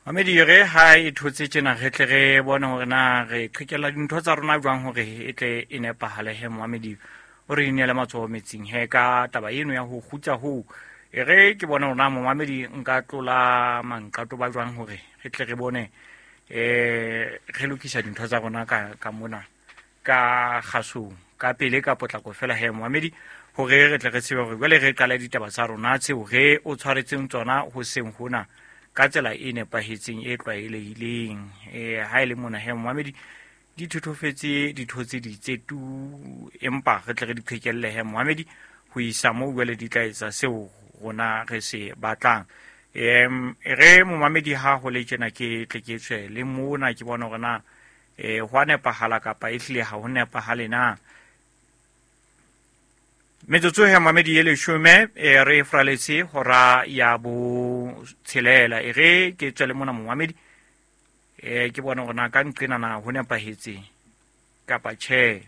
Mamedi, re ha e thotse tjena, re tle re bone hore na re qhekella dintho tsa rona jwang hore e tle e nepahale. He momamedi, o re inele matsoho metsing he ka taba eno ya ho kgutsa hoo. E re ke bone hore na, momamedi, nka tlola manqato ba jwang hore re tle re bone re lokisa dintho tsa rona ka mona ka kgasong ka pele, ka potlako fela. He momamedi, hore re tle re tsebe hore jwale re qale ditaba tsa rona tseo re o tshwaretseng tsona hoseng hona ka tsela e nepahetseng, e tlwaelehileng. Ha e le mona he momamedi, di thothofetse, di thotse ditse tu, empa re tle re di qhekelle he momamedi ho isa moo jwale di tla etsa seo rona re se batlang. Re momamedi, ha ho le tjena, ke tle ke tswe le mona, ke bona hore na ho a nepahala kapa e hlile ha ho nepahale na. Metsotso ya mamedi e 10 e re fraletse hora ya 6. E re ke tswele mona, momamedi, ke bona hore na ka nqena na ho nepahetse kapa tjhe.